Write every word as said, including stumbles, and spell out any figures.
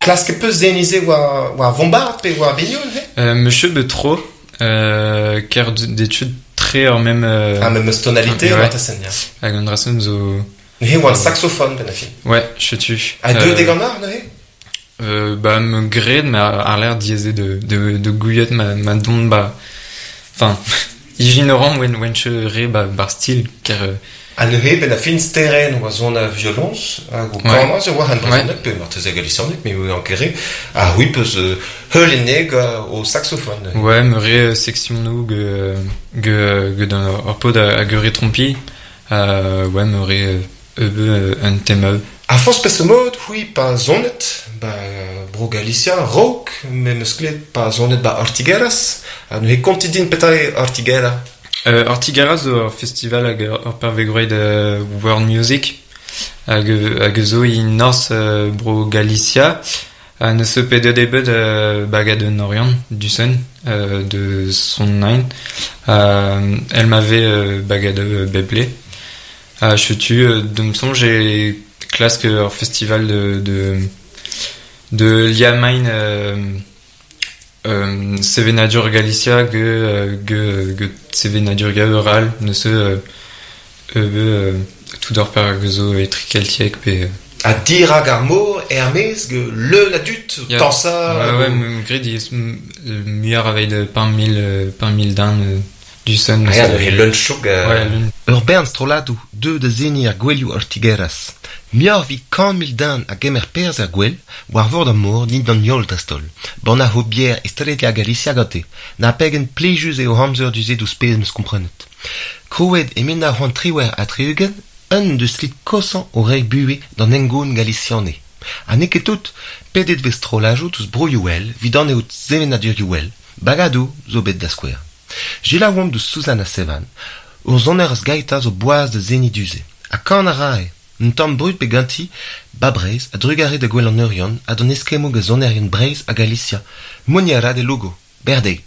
Klask peus zenize war, war vombard pe war biniou, he? Euh, Monsieur Betro, euh, ker d'études très en même... Euh, ah, même tonalité, ouais. war ta sen, ya. Hag an drasen zo... Neuze oa an saxophone, ben a fin. Ouais, chetu. A deux Euh, deganar, neuze? Euh, bah, me gred, ma ar l'air dieze de, de, de gouillet ma, ma don, ba... Enfin, ignorant wen, wen che re ba, bar stil, ker... Euh, A neuze, ben a fin steren oa zon a violons, hag o Ouais. kanaz e oa han brezhoneg, pe marteze galicianeg, me oa an kere, a c'hwi peus euh, heuleneg euh, o saxophone. neuze. Ouais, me re euh, section nou ge, ge, ge d'un ur pod a, a ge re trompi. Euh, ouais, me re euh, euh, un thème. A forzh peseurt mod, c'hwi pa zonet, ba bro Galicia, raok, me meus klevet pa zonet ba Ortigueras, ha neuze kontit din petra eo Ortiguera. Euh, Ortigueras zo ur festival hag ur pervegroet euh, World Music hag, hag zo i North euh, bro Galicia ha neus eus pedet ebet euh, bagad un Orient du Sun euh, de son nine euh, elle m'avait euh, bagad euh, beble ha chetu euh, de me songe e klask ur festival de de, de Liamain euh, euh, Sevenadur Galicia ge, euh, ge, ge Sevenadur Gaural neus euh, euh, tout d'or per zo etrikeltiek pe euh, A dirag ar mor, er-maez, ge leun a dud, Ya. tansa... Ouais, ouais, me gred iz muioc'h aveit euh, pemp mil, euh, pemp mil dan euh, du sun. Ah, ya, neuze leun chouk... euh, Ouais, leun. Ur bern strolladoù deu da zeniñ ar gouelioù Ortigueras. Muioc'h evit kant mil den a gemer perzh er gwel, war vord ar mor dindan heol dreist-holl. Bannañ ho bier e Galicia gante. Na pegen plijus eo amzer du-se douzh pezh 'm eus komprenet. Krouet e mil nav c'hant triwec'h ha tri-ugent, un deus lid kosañ o reiñ buhez d'an hengoun galiciane. Ha n'eo ket tout, pedet vez strollajoù deus broioù all, evit an eo sevenadurioù all, bagadoù zo bet da skouer. Selaouomp deus Suzanne Sevan, ur sonerez gaita zo boaz da zeniñ du-se. Ha kan a rae, un tamm brud bet ganti, ba Breizh, a drugare da Gouel an Oriant, ha d'an eskemmoù gant sonerien Breizh ha Galicia. Mont a ra de Lugo, berdeiz.